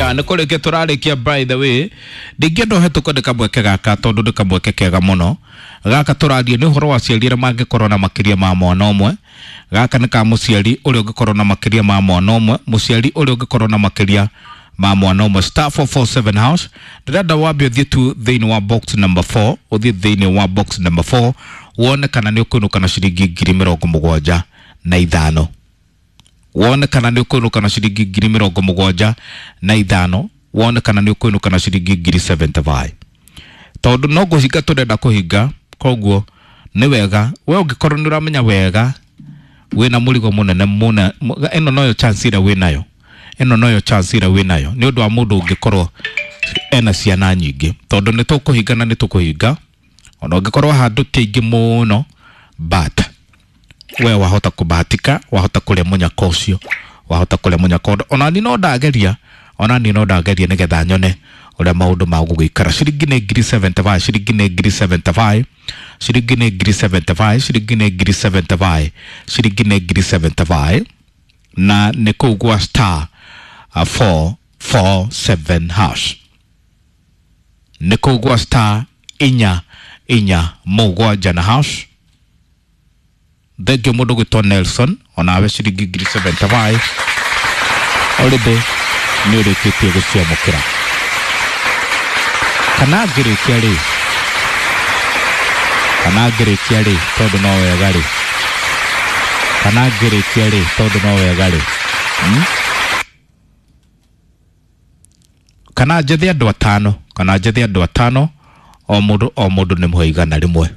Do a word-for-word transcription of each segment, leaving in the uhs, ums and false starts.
Ya nä kå rä kia tå rarä kia. By the way, ndingĩenda ũhetũkwo nĩ kamweke gaka, tondũ nĩ kamweke kega mũno. Gaka tũraria nĩ ũhoro wa aciari arĩa mangĩkorwo na makĩria ma mwana ũmwe. Gaka nĩ ka mũciari ũrĩa ũngĩkorwo na makĩria ma mwana ũmwe, mũciari ũrĩa ũngĩkorwo na makĩria ma mwana ũmwe. Star four four seven hash. Ndĩrenda wambe ũthiĩ tu thĩinĩ wa box number four, ũthiĩ thĩinĩ wa box number four wone kana nĩ ũkũinũka na ciringi ngiri mĩrongo mũgwanja na ithano, wone kana nĩ ũkũinũka na ciringi ngiri mĩrongo mũgwanja na ithano, wone kana nĩ ũkũinũka na ciringi ngiri mĩrongo mũgwanja na ithano, tondũ no kũhinga tũrenda kũhinga. Koguo nĩ wega we ũngĩkorwo nĩ ũramenya wega wĩna mũrigo mũnene mũna, ĩno noyo chance ĩrĩa wĩnayo, ĩno noyo chance ĩrĩa wĩnayo, nĩ ũndũ wa mũndũ ũngĩkorwo ena ciana nyingĩ, tondũ nĩ tũkũhinga na nĩ tũkũhinga ona ũngĩkorwo handũ ti aingĩ mũno, but we wahota kubahatika, wahota kũrĩa mũnyaka ũcio, wahota kũrĩa mũnyaka. Ona ni no ndageria, ona ni no ndageria nĩgetha nyone ũrĩa maũndũ magũgĩikara. Ciringi nĩ ngiri mĩrongo mũgwanja na ithano, ciringi nĩ ngiri mĩrongo mũgwanja na ithano, ciringi nĩ ngiri mĩrongo mũgwanja na ithano, ciringi nĩ ngiri mĩrongo mũgwanja na ithano, ciringi nĩ ngiri mĩrongo mũgwanja na ithano, na nĩ kũu gwa star uh, four four seven hash, nĩ kũu gwa star inya inya mũgwanja na hash. Thengio mũndũ gwĩtwo Nelson, onawe ciringi ngiri mĩrongo mũgwanja na ithano already nĩ ũrĩkĩtie gũciamũkĩra. Kana ngĩrĩkia rĩ, kana ngĩrĩkia rĩ, tondũ no wega rĩ, kana ngĩrĩkia rĩ, tondũ no wega rĩ, hmm? Kana njethe andũ atano, kana njethe andũ atano, o mũndũ o mũndũ nĩ mũhe igana rĩmwe,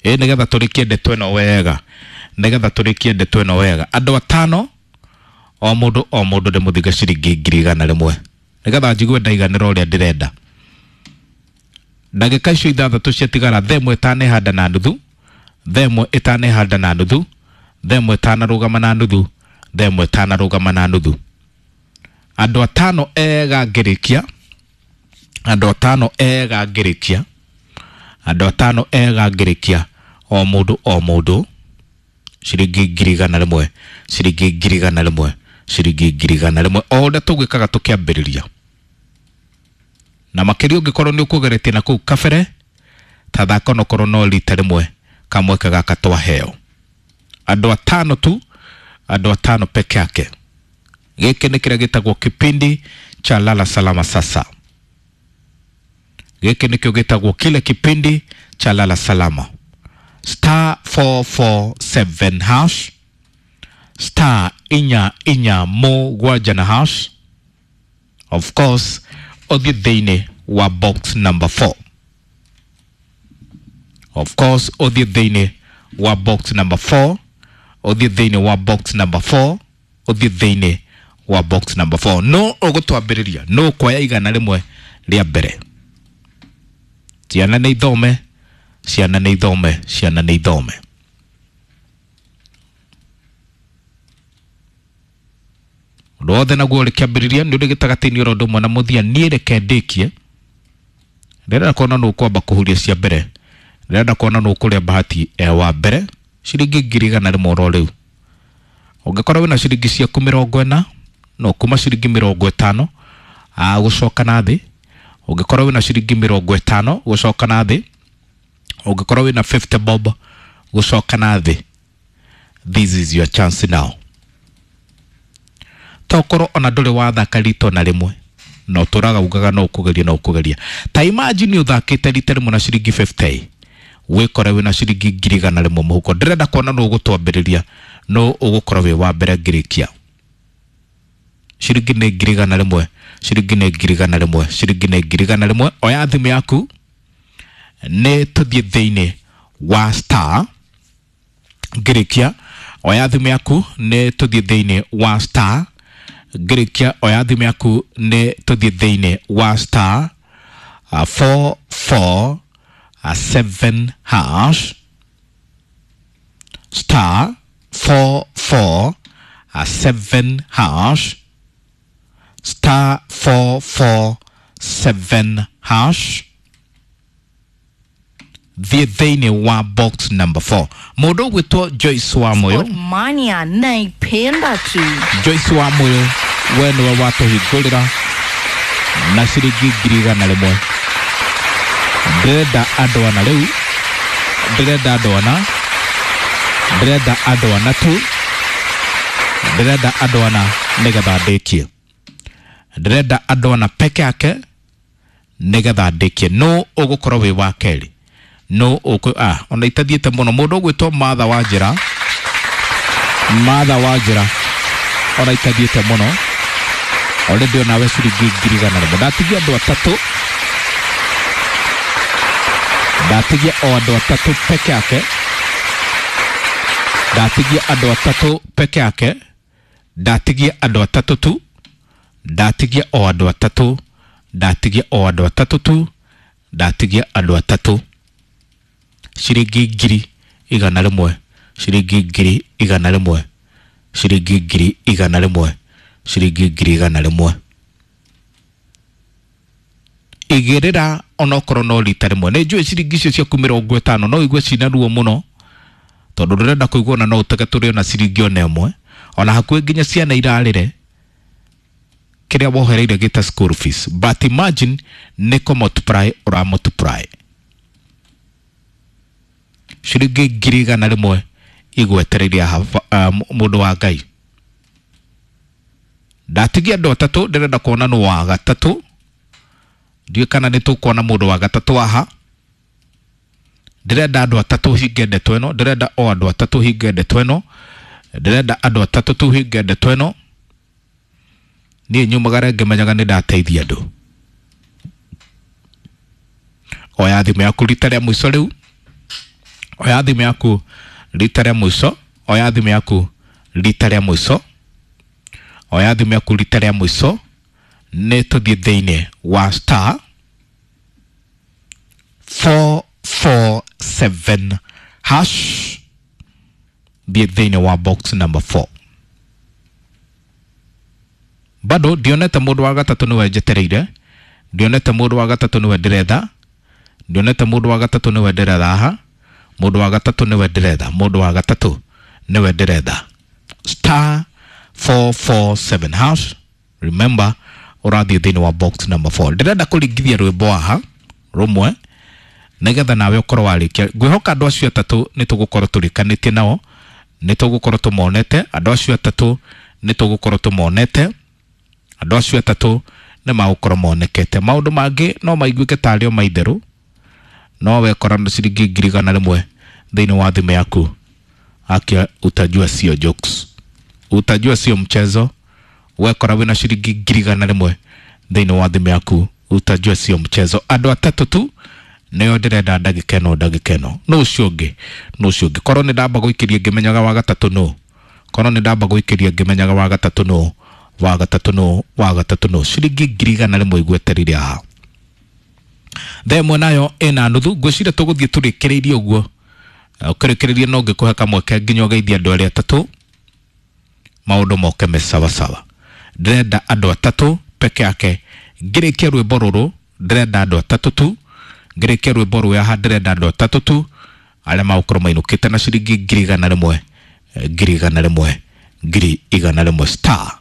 ĩ nĩgetha tũrĩkie ndeto ĩno wega, nĩgetha tũrĩkie ndeto ĩno wega. Andũ atano, o mũndũ o mũndũ nĩ mũthinga ciringi ngiri igana rĩmwe, nĩgetha njigue ndaiganĩra ũrĩa ndĩrenda. Ndagĩka icio ithathatũ ciatigara, thaa ĩmwe ĩtanehanda na nuthu, thaa ĩmwe ĩtanehanda na nuthu, thaa ĩmwe ĩtanarũgama na nuthu, thaa ĩmwe ĩtanarũgama na nuthu. Andũ atano ega ngĩrĩkia, andũ atano ega ngĩrĩkia, andũ atano ega ngĩrĩkia, o mũndũ o mũndũ ciringi ngiri igana rĩmwe, ciringi ngiri igana rĩmwe, ciringi ngiri igana rĩmwe, o ũrĩa tũgwĩkaga tũkĩambĩrĩria. Na makĩria ũngĩkorwo nĩ ũkũgeretie na kũu kabere, ta thaka onokorwo no rita rĩmwe kamweke gaka twaheo. Andũ atano tu, andũ atano peke yake. Gĩkĩ nĩ kĩrĩa gĩtagwo kipindi cha Lala Salama. Sasa gĩkĩ nĩkĩo gĩtagwo kile kipindi cha Lala Salama. Star four four seven hash, star inya inya mũgwanja na hash. Of course ũthiĩ thĩinĩ wa box number four, of course ũthiĩ thĩinĩ wa box number four, ũthiĩ thĩinĩ wa box number four, ũthiĩ thĩinĩ wa box number four. No ũgũtwambĩrĩria no kuoya igana rĩmwe rĩa mbere. Ciana nĩ ithome, ciana nĩ ithome, ciana nĩ ithome. Ũndũ wothe naguo ũrĩ kĩambĩrĩria nĩ ũrĩ gĩtagatĩ-inĩ oro ũndũ ũmwe na mũthia. Niĩ reke ndĩkie. Ndĩrenda kuona nũ ũkwamba kũhuria cia mbere, ndĩrenda kuona nũ ũkũrĩa bahati e wa mbere ciringi ngiri igana rĩmwe oro rĩu. Ũngĩkorwo wĩna ciringi ciaku mĩrongo ĩna, no kuma ciringi mĩrongo ĩtano gũcoka na thĩ. Ũngĩkorwo wĩna ciringi mĩrongo ĩtano gũcoka na thĩ, ũngĩkorwo wĩna fifty bob gũcoka na thĩ, this is your chance now. Tokorwo ona ndũrĩ wathaka rita ona rĩmwe, no tũraga ugaga no ũkũgeria, no ũkũgeria. Ta imagine ũthakĩte rita rĩmwe na ciringi fifty, wĩkore wĩna ciringi ngiri igana rĩmwe mũhuko. Ndĩrenda kuona nũ ũgũtwambĩrĩria, nũ ũgũkorwo wĩ wa mbere ngĩrĩkia. Ciringi nĩ ngiri igana rĩmwe, ciringi nĩ ngiri igana rĩmwe, ciringi nĩ ngiri igana rĩmwe. Oya thimũ yaku nĩ tũthiĩ thĩinĩ wa star ngĩrĩkia. Oya thimũ yaku nĩ tũthiĩ thĩinĩ wa star ngĩrĩkia. Oya thimũ yaku nĩ tũthiĩ thĩinĩ wa star uh, four four uh, seven hash, star four four uh, seven hash, star four four seven hash. Thiĩ thĩinĩ wa box number four. Mũndũ ũgwĩtwo Joyce wa Moyo. Mania naipenda tu. Joyce wa Moyo We nĩwe watũhingũrĩra na ciringi ngiri igana rĩmwe. Ndĩrenda andũ ana rĩu, ndĩrenda andũ ana, ndĩrenda andũ ana tu, ndĩrenda andũ ana nĩgetha ndĩkie. Ndĩrenda andũ ana peke yake nĩgetha ndĩkie. No ũgũkorwo wĩ wa kerĩ, no ũkũ ah ona itathiĩte mũno. Mũndũ ũgwĩtwo Martha wa njĩra, Martha wa njĩra ona itathiĩte mũno already onawe ciringi ngiri igana rĩmwe. Ndatigia andũ atatũ, ndatigia o andũ atatũ peke yake, ndatigia andũ atatũ peke yake, ndatigia andũ atatũ tu, ndatigia o andũ atatũ, ndatigia o andũ atatũ tu, ndatigia andũ atatũ. Ciringi ngiri igana rĩmwe, ciringi ngiri igana rĩmwe, ciringi ngiri igana rĩmwe, ciringi ngiri igana rĩmwe. Igĩrĩra onokorwo no rita rĩmwe. Nĩ njũĩ ciringi icio ciaku mĩrongo ĩtano no igue cina ruo mũno, tondũ ndũrenda kũigua ona no ũtege tũrĩ ona ciringi ona ĩmwe, ona hakuhĩ nginya ciana irarĩre kĩrĩa wohereire gĩta school fees. But imagine nĩ kũ multiply ũra multiply ciringi ngiri igana rĩmwe igwetereire haha, uh, mũndũ wa Ngai. Ndatigia andũ atatũ, ndĩrenda kuona nũ wa gatatũ. Ndiũĩ kana nĩ tũkuona mũndũ wa gatatũ haha. Ndĩrenda andũ atatũ hinge ndeto ĩno, ndĩrenda o andũ atatũ hinge ndeto ĩno, ndĩrenda andũ atatũ tu hinge ndeto ĩno. Niĩ nyumagara ngĩmenyaga nĩ ndateithia andũ. Oya thimũ yaku rita rĩa mũico rĩu, oya thimũ yaku rita rĩa mũico, oya thimũ yaku rita rĩa mũico, oya thimũ yaku rita rĩa mũico. Nĩ tũthiĩ thĩinĩ wa star four four seven hash, thiĩ thĩinĩ wa box number four. Bado ndionete mũndũ wa gatatũ nĩwe njetereire, ndionete mũndũ wa gatatũ nĩwe ndĩretha, ndionete mũndũ wa gatatũ nĩwe ndĩretha haha, mũndũ wa gatatũ nĩwe ndĩretha, mũndũ wa gatatũ nĩwe ndĩretha. Star four four seven hash, remember ũrathiĩ thĩinĩ wa box number four. Ndĩrenda kũringithia rwĩmbo haha rũmwe nĩgetha nawe ũkorwo warĩkia. Ngwĩhoka andũ acio atatũ nĩ tũgũkorwo tũrĩkanĩtie nao, nĩ tũgũkorwo tũmonete andũ acio atatũ, nĩ tũgũkorwo tũmonete andũ acio atatũ, nĩ magũkorwo monekete. Maũndũ mangĩ no maiguĩke tarĩ o maitherũ, no wekora na ciringi ngiri igana rĩmwe thĩinĩ wa thimũ yaku, akia utajua sio jokes, utajua sio mchezo. Wekora wĩna ciringi ngiri igana rĩmwe thĩinĩ wa thimũ yaku, utajua sio mchezo. Andũ atatũ tu nĩo ndĩrenda ndagĩka ĩno, ndagĩka ĩno. Nũ ũcio ũngĩ? Nũ ũcio ũngĩ? Korwo nĩ ndamba gũikĩria ngĩmenyaga wa gatatũ nũ, korwo nĩ ndamba gũikĩria ngĩmenyaga wa gatatũ nũ, wa gatatũ nũ, wa gatatũ nũ. Ciringi ngiri igana rĩmwe igwetereire haha. Thaa ĩmwe nayo ĩna nuthu. Ngwĩciria tũgũthiĩ tũrĩkĩrĩirie ũguo, ũkĩrĩkĩrĩria no ngĩkũhe kamweke nginya ũgeithie andũ arĩa atatũ, maũndũ moke me sawasawa. Ndĩrenda andũ atatũ peke yake. Ngĩrĩkia rwĩmbo rũrũ ndĩrenda andũ atatũ tu, ngĩrĩkia rwĩmbo rũrũ haha ndĩrenda andũ atatũ tu arĩa magũkorwo mainũkĩte na ciringi ngiri igana rĩmwe, ngiri igana rĩmwe, ngiri igana rĩmwe. Star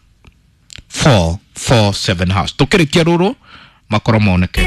four four seven hash. Tũkĩrĩkia rũrũ makorwo moneke.